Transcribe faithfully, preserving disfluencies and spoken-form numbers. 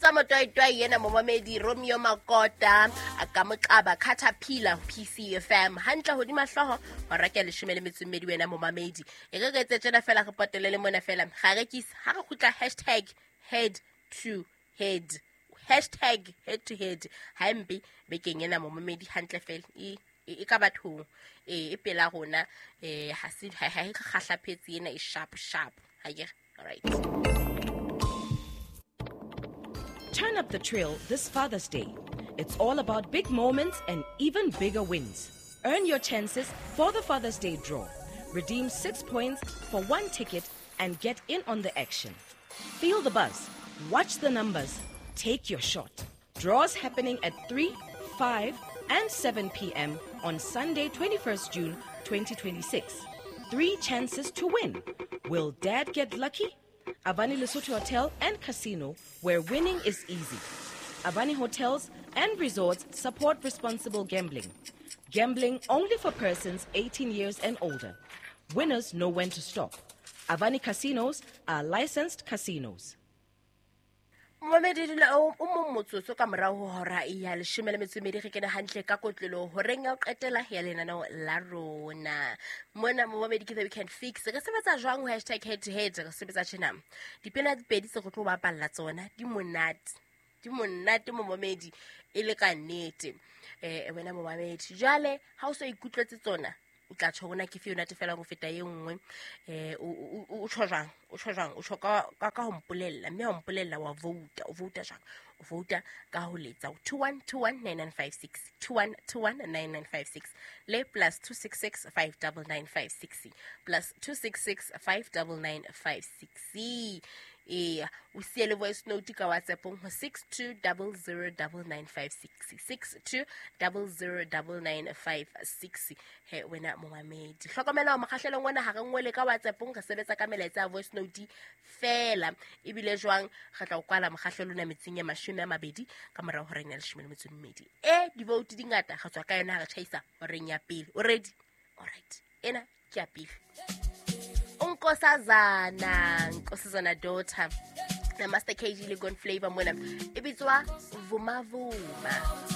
Bitswa motoitoi ena momamedi Romeo Makota a ka moqaba Caterpillar P C F M hantle hodima hlooho hora ke leshome le metso e mmedi wena momamedi. E re re etse tjena fela re potelele mona fela. Ga re kisa ha re kgutla hashtag head to head. Hashtag head to head. Ha mpe bekeng ena momamedi hantle fela. E e ka bathong e e pela rona eh ha se ha e kgahlaphetse ena e sharp sharp. Ha ke all right. Turn up the trail this Father's Day. It's all about big moments and even bigger wins. Earn your chances for the Father's Day draw. Redeem six points for one ticket and get in on the action. Feel the buzz. Watch the numbers. Take your shot. Draws happening at three, five, and seven p m on Sunday, twenty-first June, twenty twenty-six. Three chances to win. Will Dad get lucky? Avani Lesotho Hotel and Casino, where winning is easy. Avani Hotels and Resorts support responsible gambling. Gambling only for persons eighteen years and older. Winners know when to stop. Avani Casinos are licensed casinos. Momedi dula o mong motsotso ka morao ho hora ya leshome le metso e mmedi re kene hantle ka kotlolo horeng ya ho qetela ya lenaneo la rona. Mona momedi ke the weekend fix. Re sebetsa jwang ho hashtag head to head? Re sebetsa tjena. Dipina di pedi tse re tlo bapalla tsona di monate. Di monate momedi e le ka nnete. Eh wena momedi jwale ha o so ikutlwetse tsona o tla tjho bona ke fe yona fela go feta e nngwe eh o tjho jwang o tjho jwang o tjho ka ka ho mpolella mme ha mpolella wa vote o vote jwang o vote ka ho letsa two one two one nine nine five six two one two one nine nine five six le plus two six six five nine nine five six plus two six six five nine nine five six eh o siele voice note ka WhatsApp ho six two zero zero nine nine five six six two zero zero nine nine five six he wena momamedi hlokomela mokgahlelong ona ha re ngwele ka WhatsApp re sebetsa ka melaetsa ya voice note fela ebile jwang re tla o kwala mokgahlelo ona metsing ya mashome a mabedi ka morao horeng ya leshome le metso e mmedi e di vote di ngata re tswa ka yona ha re tjhaisa horeng ya pele o ready all right ena ke ya pele Nkosazana, Nkosazana daughter. Na Master K G le Gone Flavor mona. E bitswa Vuma Vuma.